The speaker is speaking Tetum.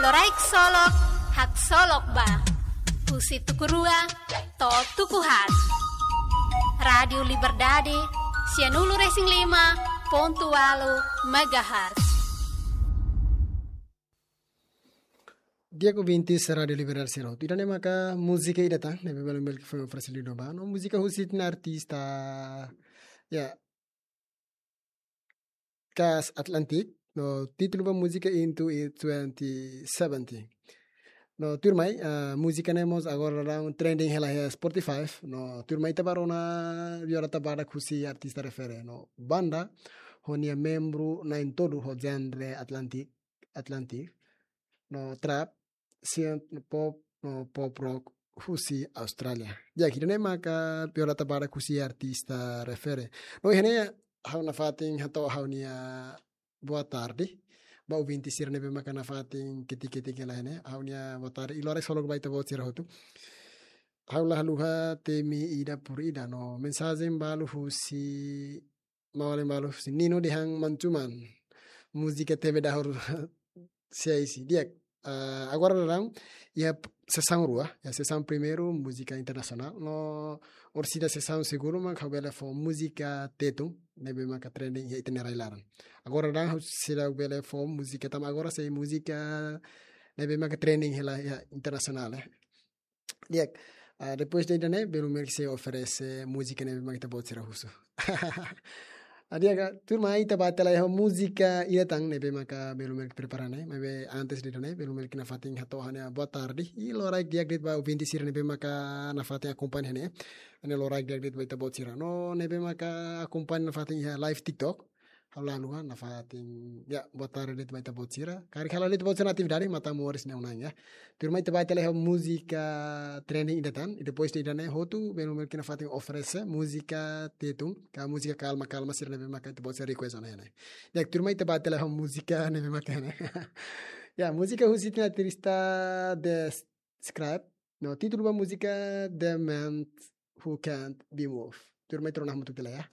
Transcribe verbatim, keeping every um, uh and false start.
Loraik Solok, haksolok ba. Husi tuku rua to'o tuku haat. Rádiu Liberdade, sianulu-resin-lima pontu ualu megahertz. Di'ak ouvintes Rádiu Liberdade sira hotu. Ida-ne'e maka múzika ida tan, ne'ebé Melumel ke foi oferese liu ba. No múzika husi ita-nia artista, ya, Cass Atlantic. No títulu ba múzika Into It twenty seventy. No tuirmai, ah, múzika ne'e mós agora daudaun trending hela iha Spotify. No tuirmai ita bá rona biorata badak husi artista refere. No banda ho nia membru na'in-tolu ho genre Atlantic, Atlantic. No trap, synth pop, no pop rock husi Austrália. Di'ak, ida-ne'e maka biorata badak husi artista refere. No iha ne'e ha'u nafatin hato'o ha'u-nia boa tarde ba ouvinte sira ne'ebé maka nafatin ketik-ketik hela iha ne'e. Ha'u-nia boa tarde i loraik solok ba ita-boot sira hotu. Ha'u la haluha temi ida por ida no mensajen balu husi maun-alin balu husi Nino dehan mancuman. Múzika T V dahur siaisi. Di'ak, ah, agora daudaun iha sesaun rua, iha sesaun primeiru múzika internasionál, no orsida sesaun segundu mak ha'u bele fó múzika Tetun, ne'ebé maka trending iha ita-nia rai-laran. Agora daudaun ha'u seidauk bele fó múzika tama agora sei múzika ne'ebé maka trending hela iha internasionál, eh. Di'ak, ah, depois de ida-ne'e, Melumel ke sei oferese múzika ne'ebé maka ita-boot sira husu. Ah, di'ak, ah, tuirmai ita bá tiha lai ho múzika ida tan ne'ebé maka Melumel ke prepara ne'e, maibé antes de ida-ne'e, Melumel ke nafatin hato'o ha'u-nia boa tarde. I loraik di'ak de'it ba ouvinte sira ne'ebé maka nafatin akompaña ne'e. Ha'u-nia loraik di'ak de'it ba ita-boot sira. No ne'ebé maka akompaña nafatin iha live TikTok. Ha'u la haluha nafatin, ya, boa tarde de'it ba ita-boot sira. Karik halo de'it ba ita-boot sira atividade, matan moris ne'e unan, ya. Tuirmai ita bá tiha lai ho múzika trending ida tan, i depois de ida-ne'e hotu, Melumel ke nafatin oferese múzika Tetun, ka múzika kalma-kalma sira ne'ebé maka ita-boot sira request ona iha ne'e. Ya, tuirmai ita bá tiha lai ho múzika ne'ebé maka ne'e. Ya, múzika husi ita-nia artista The Scribe, no títulu ba múzika The Man Who Can't Be Moved. Tuirmai ita rona hamutuk tiha lai, ya.